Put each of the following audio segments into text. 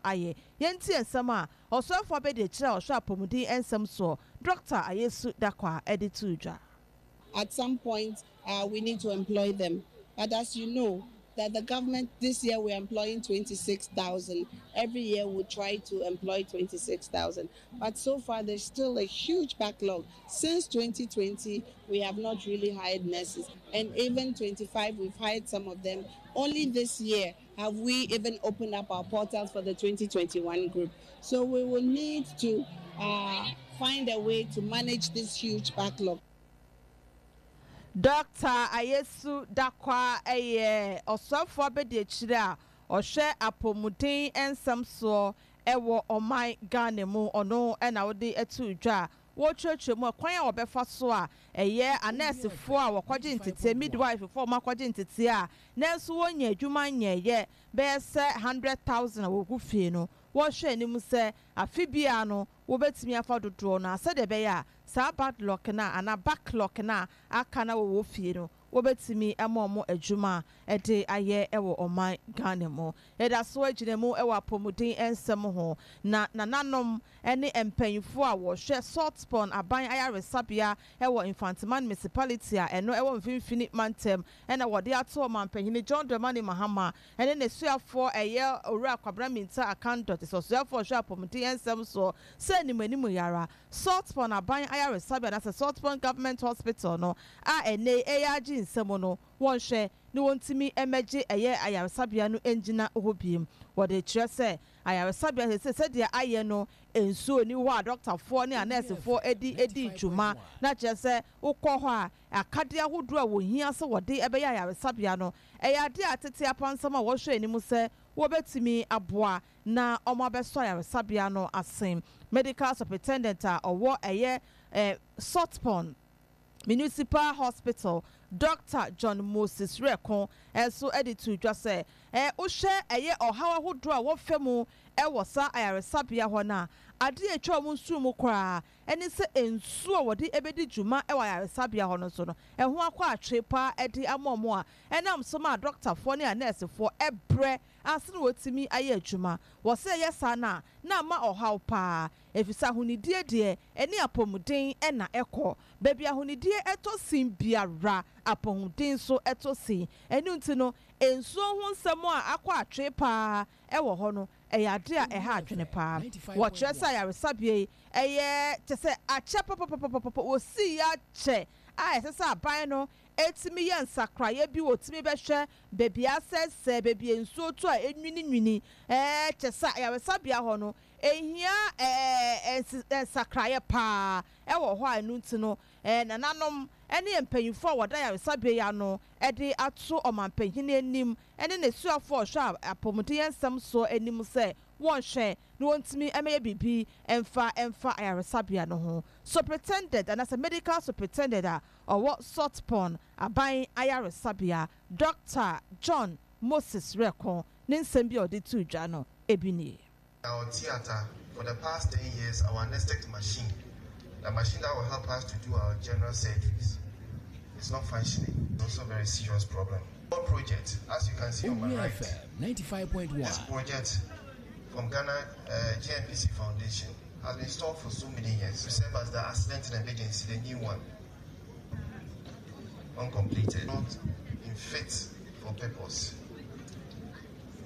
Ayɛ. Yɛntie nsɛm a Ɔsoɛfoɔ abadiakyire a ɔhwɛ apɔmuden nsɛm soɔ, Dɔkta Ayesu Dakwah de too dwa. At some point uh, we need to employ them but as you know that the government this year we are employing 26,000. Every year we try to employ 26,000. But so far there's still a huge backlog. Since 2020, we have not really hired nurses. And even 25, we've hired some of them. Only this year have we even opened up our portals for the 2021 group. So we will need to uh, find a way to manage this huge backlog. Dɔkta Ayesu Dakwah yɛ ɔsoafoɔ abadiakyire a ɔhwɛ apɔmuden nsɛm soɔ wɔ ɔman Ghana mu. Ɔno na wode too dwa a wɔrekyerɛkyerɛ mu ɛkwan a wɔbɛfa so a ɛyɛ anɛɛsefoɔ a wɔkɔgye nteteɛ, midwife-foɔ a wɔakɔgye nteteɛ a nanso wɔnnya adwuma nyɛeɛ bɛyɛ sɛ 100,000 a wɔgu fie no, wɔrehwɛ anim sɛ afe biara no wɔbɛtumi afa dodoɔ no ara sɛdeɛ ɛbɛyɛ a saa badlock no a anaa backlog no a aka na wɔwɔ fie no wɔbɛtumi ama wɔn adwuma de ayɛ wɔ ɔman Ghana mu. Yɛda so gyina mu wɔ apɔmuden nsɛm ho, na nananom ne mpanyimfoɔ a wɔhwɛ Saltpond Aban Ayaresabea wɔ Mfanteman Municipality a ɛno wɔ Mfimfini Mantam na wɔde ato Ɔmanpanyin John Dramani Mahama ne n'asuafoɔ ɛyɛ Owura Kwabena Mintah Akandoh te sɛ ɔsoafoɔ a ɔhwɛ apɔmuden nsɛm soɔ sɛ animanimu yi ara Saltpond Aban Ayaresabea anaasɛ Saltpond Government Hospital no a ɛnnɛ yi ɛyɛ agye nsam no wɔnhwɛ na wɔntumi mmɛgye ɛyɛ ayaresabea no ngyina hɔ bio. Wɔde kyerɛ sɛ ayaresabea seesei sɛdeɛ ayɛ no nsuo nni hɔ a dɔktafoɔ ne anɛɛsefoɔ de di dwuma na kyerɛ sɛ wokɔ hɔ a akadeɛ ahodoɔ a wɔhia sɛ wɔde bɛyɛ ayaresabea no ɛyɛ adeɛ a tete apansam a wɔhwɛ anim sɛ wɔbɛtumi aboa na wɔabɛsɔ ayaresabea no ase. Medical Superintendent a ɔwɔ ɛyɛ Saltpond Municipal Hospital, Dɔkta John Moses Wereko nso de too dwa sɛ, wohwɛ ɛyɛ ɔhaw ahodoɔ a wɔfa mu wɔ saa ayaresabea hɔ no a, adeɛ a ɛtwa wɔn nsono mu koraa ne sɛ nsuo a wɔde bɛdi dwuma wɔ ayaresabea hɔ no nso no, ɛho akɔ atwe pa ara de ama wɔn a ɛnam so ma adɔktafoɔ ne anɛɛsefoɔ brɛ ansa na wɔatumi ayɛ adwuma. Wɔ sɛ ɛyɛ saa no a, na ama ɔhaw pa ara, efisɛ ahonidie deɛ, ɛne apɔmuden na ɛkɔ. Baabi a ahonidie tɔ sin biara, apɔmuden nso tɔ sin. Ɛno nti no, nsuo ho nsɛm a akɔ atwee pa ara wɔ hɔ no, ɛyɛ adeɛ a ɛha adwene pa ara. Wɔkyerɛ sɛ ayaresabea yi, ɛyɛ kyerɛ sɛ akyɛ papapapapapa, wɔsii akyɛ a ɛsɛ sɛ aban no tumi yɛ nsakraeɛ bi, wɔtumi bɛhwɛ baabi a asɛesɛe, baabi a nsuo tɔ a ɛnwininwini, ɛɛ kyerɛ sɛ ayaresabea hɔ no, ɛhia ɛɛ nsakraeɛ pa ara wɔ hɔ a ɛno nti no, nananom ne mpanyimfoɔ a wɔda ayaresabea yi ano de ato ɔmanpanyin anim ne n'asuafoɔ a wɔhwɛ apɔmuden nsɛm soɔ anim sɛ wɔnhwɛ na wɔntumi mmɛyɛ biribi mfa mfa ayaresabea no ho. Superintendent anaasɛ Medical Superintendent a ɔwɔ Saltpond Aban Ayaresabea, Dɔkta John Moses Reko ne nsɛm bi a ɔde too dwa no bi nie. Our theatre for the past 10 years, our anesthetic machine, the machine that will help us to do our general surgeries, is not functioning. It's also a very serious problem. Our project, as you can see on my right, this project from Ghana uh, GNPC Foundation has been installed for so many years to serve as the accident and emergency, the new one, uncompleted, not in fit for purpose.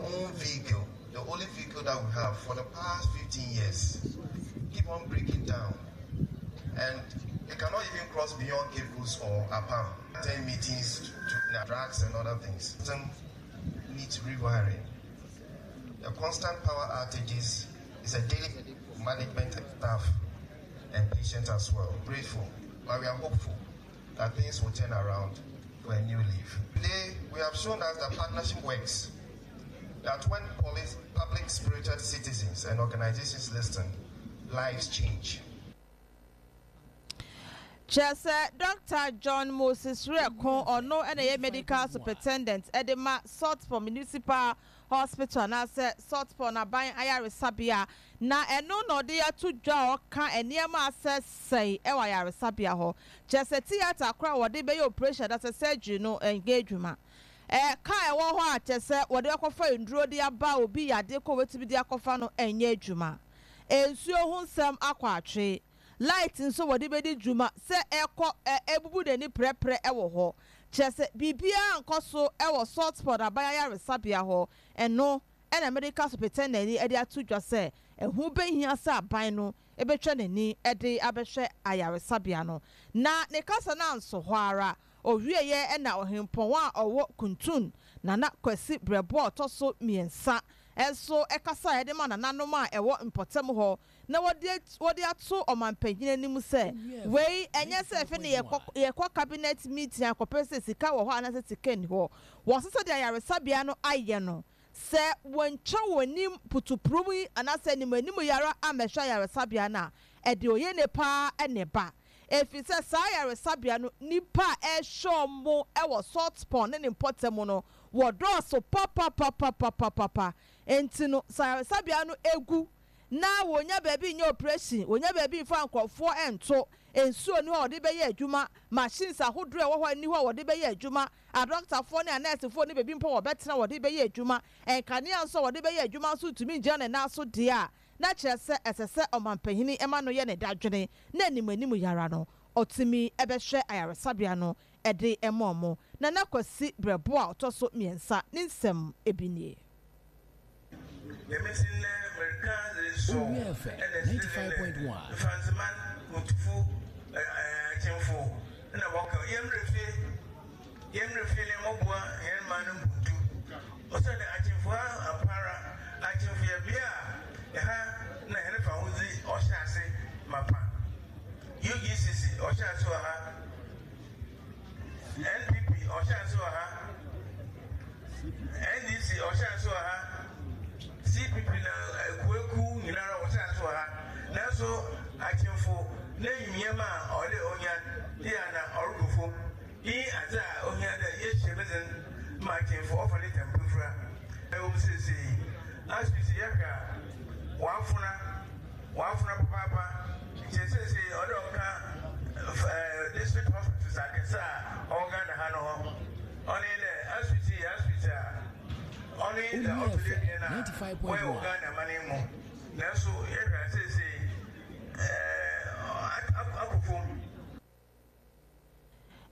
Own vehicle, the only vehicle that we have for the past 15 years, keep on breaking down. And it cannot even cross beyond Cape Coast or Apam. 10 meetings to, to drugs and other things. Some needs rewiring. The constant power outages is a daily management staff and patients as well. Grateful, but we are hopeful that things will turn around for a new leaf. Today, we have shown us that partnership works. That when police, public spirited citizens and organizations listen, lives change. Kyerɛ sɛ Dɔkta John Moses Wereko, ɔno na ɛyɛ Medical Superintendent de ma Saltpond Municipal Hospital anaasɛ Saltpond Aban Ayaresabea, na ɛno na ɔde ato dwa a ɔka nneɛma a asɛesɛe wɔ ayaresabea hɔ. Kyerɛ sɛ theatre koraa a wɔde bɛyɛ operation anaasɛ surgery no nyɛ adwuma. Car a ɛwɔ hɔ a kyerɛ sɛ wɔde akɔfa nnuro de aba obi yadeɛ kɔ wɔbɛtumi de akɔfa no nyɛ adwuma. Nsuo ho nsɛm akɔ atwe. Light nso wɔde bɛdi dwuma sɛ ɛkɔ ɛbubu n'ani prɛprɛ wɔ hɔ. Kyerɛ sɛ biribiara nkɔ so wɔ Saltpond Aban Ayaresabea hɔ. Ɛno na Medical Superintendent de ato dwa sɛ ɛho bɛhia sɛ aban no bɛtwa n'ani de abɛhwɛ ayaresabea no. Na ne kasa no anso hɔ ara, ɔwieeɛ na Ɔhempɔn a ɔwɔ Kuntun, Nana Kwasi Brɛboɔ a ɔtɔ so mmiɛnsa nso kasaeɛ de maa nananom a ɛwɔ mpɔtam hɔ na wɔde wɔde ato ɔmanpanyin anim sɛ wei ɛnyɛ sɛ ɛfe ne yɛkɔ yɛkɔ cabinet meeting akɔpɛ sɛ sika wɔ hɔ anaasɛ sika nni hɔ. Wɔse sɛdeɛ ayaresabea no ayɛ no, sɛ wɔantwa wɔn anim putupurum yi anaasɛ anim anim yi ara ammɛhwɛ ayaresabea no a, ɛde oyene paa na ɛba. Ɛfiri sɛ saa ayaresabea no nnipa a ɛrehwɛ wɔn wɔ Salt Pond ne ne mpɔtam no, wɔdɔɔso papapapapapapa. Enti no, sɛ ayaresabea no gu na wɔnnya baabi nyɛ oprehyɛn, wɔnnya baabi mfa nkurɔfoɔ nto, nsuo nni hɔ a wɔde bɛyɛ adwuma, machines ahodoɔ a ɛwɔ hɔ nni hɔ a wɔde bɛyɛ adwuma, adɔkotafoɔ ne anɛɛsefoɔ nni baabi mpo a wɔbɛtena a wɔde bɛyɛ adwuma, nkanea nso a wɔde bɛyɛ adwuma nso ntumi ngyina ne nan so deɛ a, na kyerɛ sɛ ɛsɛ sɛ ɔmampanin ma no yɛ ne dadwene na anim anim yi ara no ɔtumi bɛhwɛ ayaresabea no de ma wɔn. Nana Kwasi Brɛboɔ a ɔtɔ so mmiɛnsa ne nsɛm bi nie. Dɛm ntsi ndɛ mereka dze sɔw Owia FM na serɛ dɛ 95.1. Mfantseman Kuntufo Akyemfo na wɔka yɛmbrɛ fie, yɛmbrɛ fie na yɛmbɔboa hɛn man no mpontu. Osiandɛ Akyemfo ha ampaara, Akyemfo yɛ bea a ha na hɛn fahodzi ɔhyɛ ase mapa. UGCC ɔhyɛ ase wɔ ha. NPP ɔhyɛ ase wɔ ha, NDC ɔhyɛ ase wɔ ha, CPP na ekuwekuw nyinara wɔhyɛ ase wɔ ha. Nanso Akyemfo n'enyimnyam a ɔwɔ dɛ onya yɛ a na ɔrokɔ famu. Iyi nye adze a ohia dɛ yɛhyɛ mu dzen ma Akyemfo ɔfa ne tampafura. Ɛwɔ mu sesei, asopitsi yɛhwɛ a wɔafona. Wɔafona papaapa ntsi sesei ɔwɔ dɛ ɔka district hospitals akɛse a ɔwɔ Ghana ha no ho. Ɔno nye dɛ asopitsi yɛ asopitsi a ɔno nye dza Onua ɔtɔ do FM ebien a wɔyɛ wɔ 95.1. Ghana man yi mu. Naaso yɛhwɛ a sesei akɔ famu.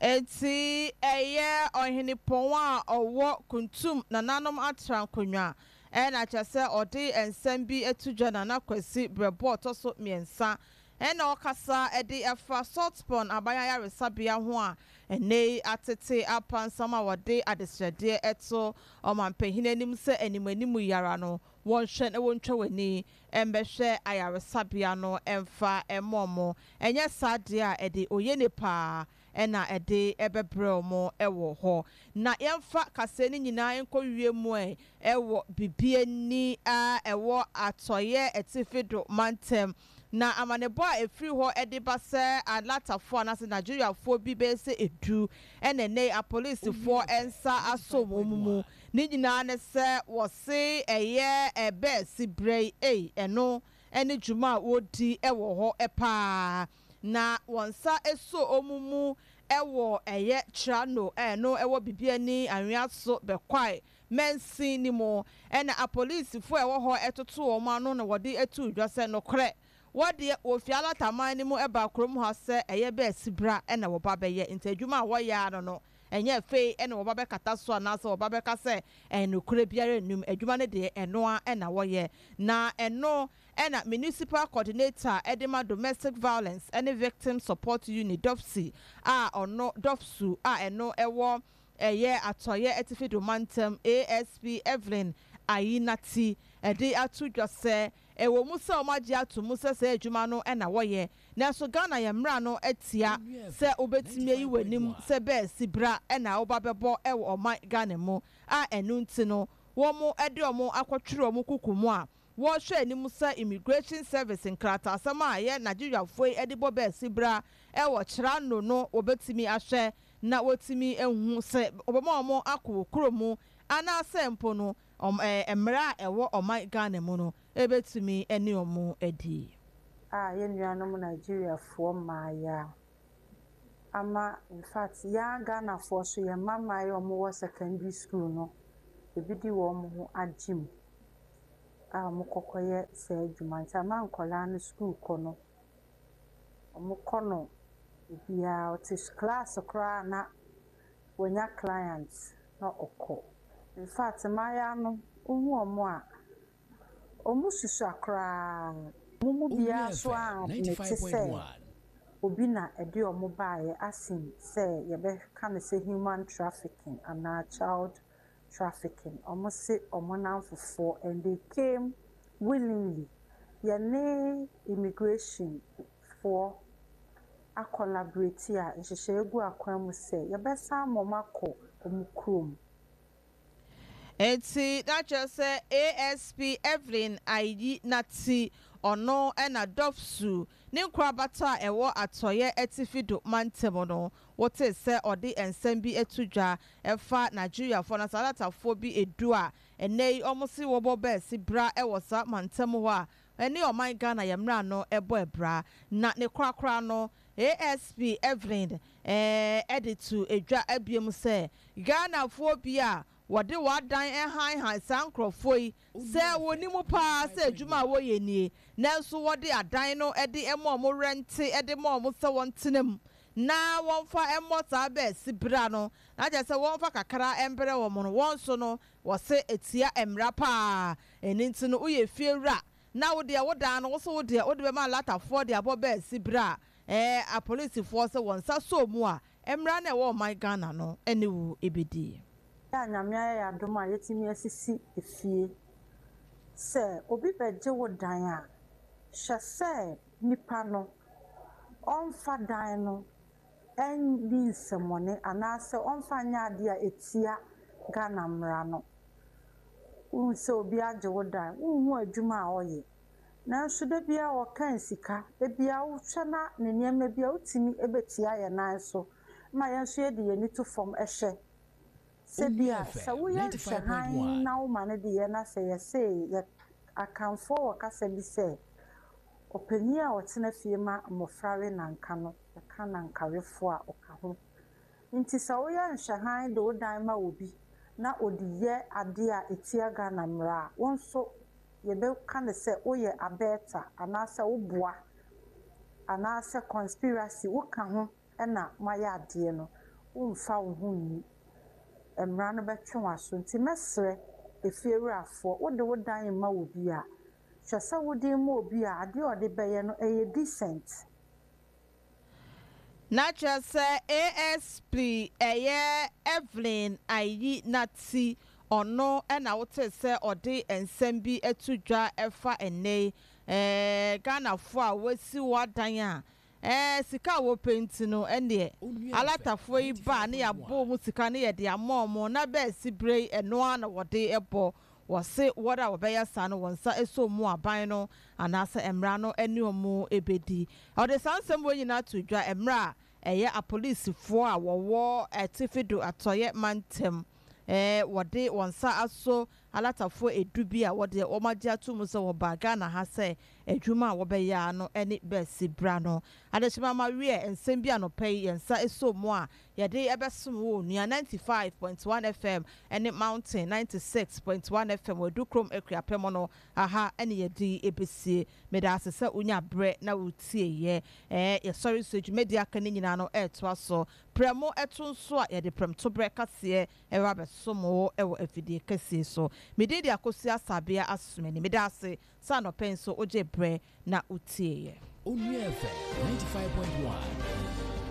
Enti ɛyɛ ɔhenepɔn a ɔwɔ Kuntum nananom atrankonnwa na kyerɛ sɛ ɔde nsɛm bi to dwa Nana Kwasi Brɛboɔ ɔtɔ so mmiɛnsa na ɔkasa de fa Saltpond aban ayaresabea ho a ɛnnɛ yi atete apansam a wɔde adesrɛdeɛ to ɔmanpanin anim sɛ anim anim yi ara no wɔnhwɛ na wɔntwa wɔn ani mmɛhwɛ ayaresabea no mfa mma wɔn, ɛnyɛ saa deɛ a ɛde oyene paa na ɛde bɛbrɛ wɔn wɔ hɔ. Na yɛmfa kaseɛ no nyinaa nkɔwie mu ɛ wɔ Bibiani a ɛwɔ Atɔeɛ Atifi do mantam. Na amanebɔ a ɛfiri hɔ de ba sɛ Alatafoɔ anaasɛ Nigeriafoɔ bi bɛyɛ sɛ du na ɛnnɛ yi apolisifoɔ nsa asɔ wɔn mu. Ne nyinaa ne sɛ wɔse ɛyɛ ɛbɛɛsi berɛ yi ei, ɛno ne dwuma a wɔdi wɔ hɔ paa. Na wɔn nsa sɔ wɔn mu wɔ ɛyɛ Trano a ɛno wɔ Bibiani Anweaso Bɛkwae mansin no mu. Ɛna apolisifoɔ a ɛwɔ hɔ toto wɔn ano na wɔde too dwa sɛ nokorɛ wɔdeɛ wɔfiri Alataman no mu baa kurom ha sɛ ɛyɛ bɛɛsi bra na wɔba bɛyɛ nti adwuma a wɔyɛ ara no no Ɛnyɛ afei na wɔba bɛkata so anaasɛ wɔba bɛka sɛ nokorɛ biara nnim. Adwuma no deɛ, ɛno ara na wɔyɛ. Na ɛno na Municipal Coordinator de ma Domestic Violence ne Victim Support Unit, DOVVSU, a ɔno, DOVVSU, a ɛno wɔ ɛyɛ Atɔeɛ Atifi Do Mantam, ASP Evelyn Ayinati de ato dwa sɛ, ɛwɔ mu sɛ wɔagye ato mu sɛ saa adwuma no na wɔyɛ, Nanso Ghana yɛn mmra no tia sɛ wobɛtumi ayi w'anim sɛ bɛɛsi bra na woba bɛbɔ wɔ ɔman Ghana mu a ɛno nti no wɔn de wɔn akɔtwere wɔn kuku mu a wɔrehwɛ anim sɛ Immigration Service nkrataasɛm a ɛyɛ Nigeriafoɔ yi de bɔ bɛɛsi bra wɔ Kyerano no wɔbɛtumi ahwɛ na wɔatumi ahu sɛ wɔbɛma wɔn akɔ wɔ kuro mu anaasɛ mpo no mmara a ɛwɔ ɔman Ghana mu no bɛtumi ne wɔn adi. A yɛn nuanom Nigeriafoɔ mmaayea. Ama infact yɛn Ghanafoɔ so yɛn mma mmaayewa a wɔwɔ secondary school no, ebi de wɔn ho agye mu a wɔkɔkɔyɛ saa adwuma. Nti ama nkwadaa no sukuu kɔ no, wɔkɔ no obiara ɔte class koraa na wanya client na ɔkɔ. Infact mmaayewa no, wohu wɔn a, wɔsusua koraa. Wɔn mu biara nso admit sɛ obi na ɛde wɔn baeɛ asen sɛ yɛbɛka no sɛ human trafficking anaa child trafficking. Wɔse wɔn nnamfofoɔ and they came willingly. Yɛne immigration foɔ acollaborate a nhyehyɛeɛ gu akwan mu sɛ yɛbɛsan ma wɔn akɔ wɔn kurom. Enti na kyerɛ sɛ ASP Evelyn Ayi Nati, ɔno na Dɔfsu ne nkorabata a ɛwɔ Atɔeɛ Atifi do mantam no, wotee sɛ ɔde nsɛm bi to dwa ɛfa Nigeriafoɔ anaasɛ Alatafoɔ bi du a ɛnnɛ yi wɔn se wɔbɔ bɛɛse bra wɔ saa mantam hɔ a ɛne ɔman Ghana yɛ mmra no bɔ abira. Na ne korakora no, ASP Evelyn de to dwa biom sɛ Ghanafoɔ bi a wɔde wɔn adan hanhan saa nkorɔfoɔ yi sɛ wɔnim paa sɛ adwuma a wɔyɛ nie nanso wɔde adan no de ma wɔn rɛnte de ma wɔn sɛ wɔntena mu na wɔmfa mmɔ saa bɛɛse bra no na kyerɛ sɛ wɔmfa kakra mbrɛ wɔn no wɔn nso no wɔse ɛtia mmara paa ɛno nti no woyɛ fie wura na wo deɛ wo dan no wo so wo deɛ wode bɛma alatafoɔ de abɔ bɛɛse bra ɛɛ apolisifoɔ sɛ wɔn nsa sɔ mu a mmara no a ɛwɔ ɔman Ghana no ne wo bɛdi. Yɛ a Nyame ayɛ yɛn adom a yɛatumi asisi efie. Sɛ obi bɛgye wo dan a, hwɛ sɛ nipa no ɔmfa dan no nni nsɛmmɔne anaasɛ ɔmfa nyɛ adeɛ a ɛtia Ghana mmara no. Wohu sɛ obi agye wo dan, wonhu adwuma a ɔyɛ, nanso da biara ɔkan sika, da biara wohwɛ na ne nneɛma bi a wotumi bɛtia yɛn nan so ma yɛn nso yɛde yɛn ani to fam hwɛ. Sɛ bi a, sɛ woyɛ nhwɛhan na woma no de yɛ na sɛ yɛse yɛ Akanfoɔ wɔ kasa bi sɛ, ɔpanin a ɔtena fie ma mmɔfra we nanka no, yɛka nankawefoɔ a, ɔka ho. Nti sɛ woyɛ nhwɛhan de wo dan ma obi na ɔde yɛ adeɛ a ɛtia Ghana mmara a, wo nso yɛbɛka no sɛ woyɛ abɛɛta anaasɛ woboa anaasɛ conspiracy, woka ho na moayɛ adeɛ no, womfa wo ho nni. Mmara no bɛtwe w'aso. Nti mɛsrɛ efiewurafoɔ, wode wo dan rema obi a, hwɛ sɛ wode rema obi a adeɛ a ɔde bɛyɛ no ɛyɛ decent. Na kyerɛ sɛ ASP ɛyɛ Evelyn Ayi Nati, ɔno na wotee sɛ ɔde nsɛm bi to dwa ɛfa ɛnnɛ yi Ghanafoɔ a wɔasi wɔn adan a Ɛɛ, sika a wɔpɛ nti no, ɛnneɛ alatafoɔ yi ba a ne yɛabɔ wɔn sika ne yɛde ama wɔn, na bɛasi berɛ yi ɛno ara na wɔde bɔ. Wɔse wɔn a wɔbɛyɛ saa no wɔn nsa sɔ mu aban no anaasɛ mmara no ne wɔn bɛdi. Ɔde saa nsɛm wei nyinaa too dwa mmerɛ a ɛyɛ apolisifoɔ a wɔwɔ Atifido Atɔeɛ mantam wɔde wɔn nsa aso Alatafoɔ edu bi a wɔdeɛ wɔn agye ato mu sɛ wɔbaa Ghana ha sɛ adwuma a wɔbɛyɛ ara no ne bɛsi bra no. Adehyema ma wiɛ nsɛm bi anɔpa yi yɛn nsa soo mu a yɛde bɛsom wo onua 95.1 FM ne Mountain 96.1 FM wɔ Adukrom Akuapem no aha ne yɛde bɛsie. Meda ase sɛ wonya berɛ na wotieeɛ. Ɛɛ yɛsɔre nso dwumadie aka no nyinaa no ɛretoa so. Prɛmo to nso a yɛde prɛmtoberɛ kaseɛ Ɛreba abɛsom wo wɔ afidie kɛseɛ so. Me din de Akosua Asabea Asumani. Meda ase sɛ anɔpa yi nso wogyee berɛ na wotieeɛ. Onua FM 95.1.